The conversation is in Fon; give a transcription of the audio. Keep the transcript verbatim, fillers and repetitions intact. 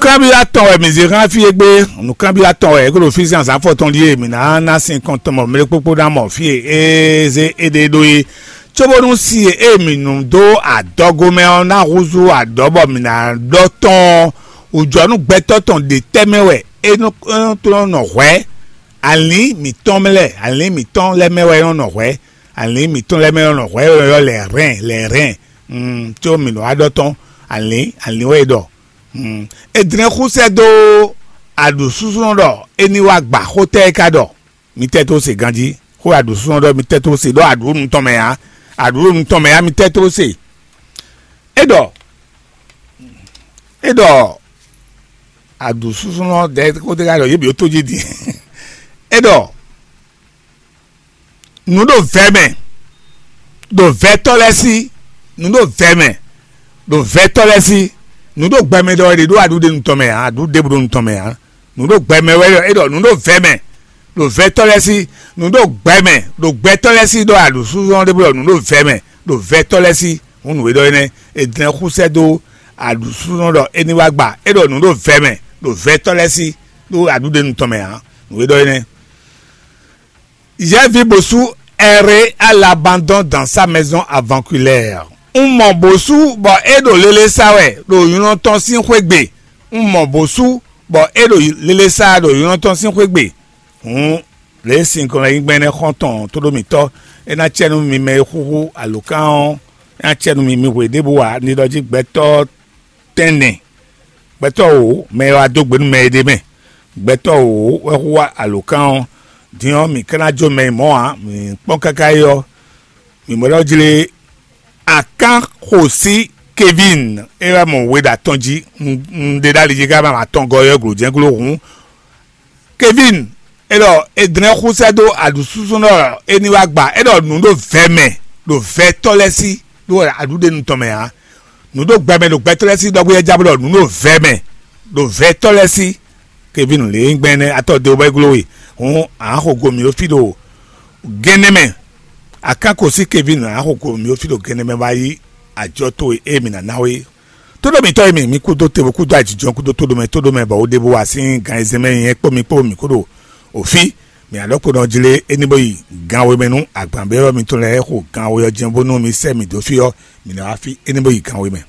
Nǔkanbyɔ́ atɔn wɛ mǐ zé xá fí égbé. Nǔkanbyɔ́ atɔn wɛ é ko ɖo fí sín azǎn fɔtɔn ɖíe mǐ ná ná sin kɔn tɔn mɔ mlɛkpókpó ná mɔ fí e é zé éɖée ɖó é. Cóbónú si e mǐ nú dó adɔgo mɛ ɔ́ ná húzú adɔ̌ bɔ mǐ ná ɖɔ tɔn ɔ́, wǔjɔnú gbɛtɔ́ tɔn ɖě tɛ́ mɛ wɛ é nɔ é nɔ tlɔ́n nɔ hwɛ̌? Alǐn mǐtɔn mɛ lɛ́ɛ, alǐn mǐtɔn lɛ́ɛ mɛ wɛ é nɔ nɔ hwɛ̌. Alǐn mǐtɔn lɛ́ɛ mɛ nɔ hwɛ̌ wɛ ɔ́ lɛ̌ hɛn lɛ̌ hɛn. Mm, có mǐ nɔ wá ɖɔ tɔn, alǐn alǐn wɛ é ɖɔ. Mm, é dlɛ́n xú sɛ́ dó aɖǔsúsúnɔ ɖɔ é ní wá gba xó tɛ́ é ka ɖɔ. Mi tɛ́ tó se ganjí, xó aɖǔsúsúnɔ ɖɔ mi tɛ́ tó se ɖɔ aɖǔ nu tɔn mɛ ǎ. Aɖǔ nu tɔn mɛ ǎ, mi tɛ́ tó se. É ɖɔ é ɖɔ aɖǔsúsúnɔ ɖɛ xó tɛ́ ka ɖɔ yě bǐ ó tó jí din. É ɖɔ nǔ ɖo vɛ̌ mɛ, ɖo vɛ̌tɔ́ lɛ́ɛ sí, nǔ ɖo vɛ̌ mɛ, ɖo vɛ̌tɔ́ lɛ́ɛ sí, nǔ ɖo gbɛ mɛ ɖɔ è ɖe ɖó aɖǔɖenu tɔn mɛ ǎ, aɖǔ ɖěbǔ ɖo nu tɔn mɛ ǎ. Nǔ ɖo gbɛ mɛ wɛ ɖɔ é ɖɔ nǔ ɖo vɛ̌ mɛ, ɖo vɛ̌tɔ́ lɛ́ɛ sí, nǔ ɖo gbɛ mɛ, ɖo gbɛtɔ́ lɛ́ɛ sí ɖɔ aɖǔsúzɔ́n ɖěbǔ ɖɔ nǔ ɖo vɛ̌ mɛ, ɖo vɛ̌tɔ́ lɛ́ɛ sí. Hǔn nǔ e ɖɔ énɛ́, è dlɛ́n xú sɛ́ dó aɖǔsúzɔ́n ɖɔ é ní wá gba, é ɖɔ nǔ ɖo vɛ̌ mɛ, ɖo vɛ̌tɔ́ lɛ́ɛ sí, ɖó aɖǔɖenu tɔn mɛ ǎ. Nǔ e ɖɔ énɛ́. Yɛ́ví bosú Ɛré à l'abandon dans sa maison aventurière. Un mɔ bosú bɔ é ɖo lélé sá wɛ ɖo nylɔ́ tɔn sín xwé gbe. Un mɔ bosú bɔ é ɖo lélé sá ɖo nylɔ́ tɔn sín xwé gbe. Hǔn lě e sin kɔn lɛ́ nyí gbɛn énɛ́ xɔ́ntɔn tóɖómítɔ́, é ná cɛ nú mi mɛ e xúxú alǒkan ɔ́, é ná cɛ nú mi mi hwe ɖěbǔ ǎ. Ní ɖɔ jí gbɛtɔ́ tɛ́nnɛ, gbɛtɔ́ wǒ mɛ e wá dó gbe nú mɛ e ɖ'é mɛ. Gbɛtɔ́ wǒ wɛ hu wá alǒkan ɔ́. Din ɔ́, mǐ ka ná jó mɛ e mɔ̌ ǎ, mǐ kpɔ́n káká é ɔ́, mǐ mɔ ɖɔ jlé Akánxosí Kevin é wɛ mɔ we ɖo atɔn jí. Un ɖe ɖó ali jí ká ma atɔngɔ́ ɔ́ glo jɛ́n glo hǔn. Kevin, é ɖɔ è dlɛ́n xúsɛ́ dó aɖǔsúsúnɔ ɖɔ é ní wá gba, é ɖɔ nǔ ɖo vɛ̌ mɛ, ɖo vɛ̌tɔ́ lɛ́ɛ sí, ɖó aɖǔɖenu tɔn mɛ ǎ. Nǔ ɖo gbɛ mɛ ɖo gbɛtɔ́ lɛ́ɛ sí ɖɔhú é já bó ɖɔ nǔ ɖo vɛ̌ mɛ, ɖo vɛ̌tɔ́ lɛ́ɛ sí. Kevin lě e nyí gbɛn énɛ́ atɔ́ de wobɔ é gló we. Hǔn a nǎ xo go mǐ ɖó fí ɖo gɛ́nɛ́ mɛ. Akánko sí Kevin a nǎ xo go mǐ ɖó fí ɖo gɛ́nɛ́ mɛ wá yí ajɔ towe e mǐ ná ná we. Tóɖó mǐtɔn e mǐ, mǐ kúdó te, kúdó ajijɔ, kúdó tóɖó mɛ, tóɖó mɛ bɔ wo ɖěbú wá sín gan e zɛn mɛ nyɛ kpó mi kpó mǐ kúɖo òfí. Mǐ ná ɖɔ kpo nɔ jlé é ní bó yi gan we mɛ nú agban béwɔ́ mitɔn lɛ́ɛ xo gan we ɔ́ jɛ́n bónú mi sɛ́ mǐ dó fí ɔ́, mǐ ná wá fí é ní bó yi gan we mɛ.